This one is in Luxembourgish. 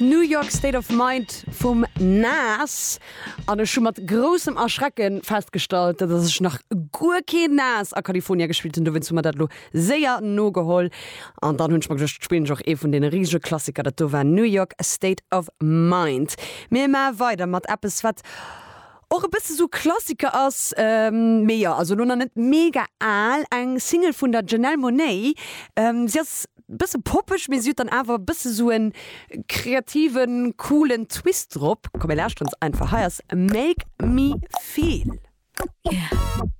New York State of Mind vum Nas. An ech hu mat groussem Erschrecke festgestallt, dass ech nach guer keen Nas a California gespillt hunn. Dowéinst hu mer dat elo séier nogeholl. An dann hunn ech mer geduecht, spillen ech och ee vun deene risege Klassiker. Dat do war New York State of Mind. Mir maache weider mat eppes, wat och e bësse sou Klassiker ass, mee jo, also elo nach net mega al, eng Single vun der Janelle Monáe. Si ass e bësse poppeg, mee si huet dann awer e bësse sou en kreativen, coolen Twist drop. Komm mir lauschteren se einfach, hei ass Make Me Feel. Yeah.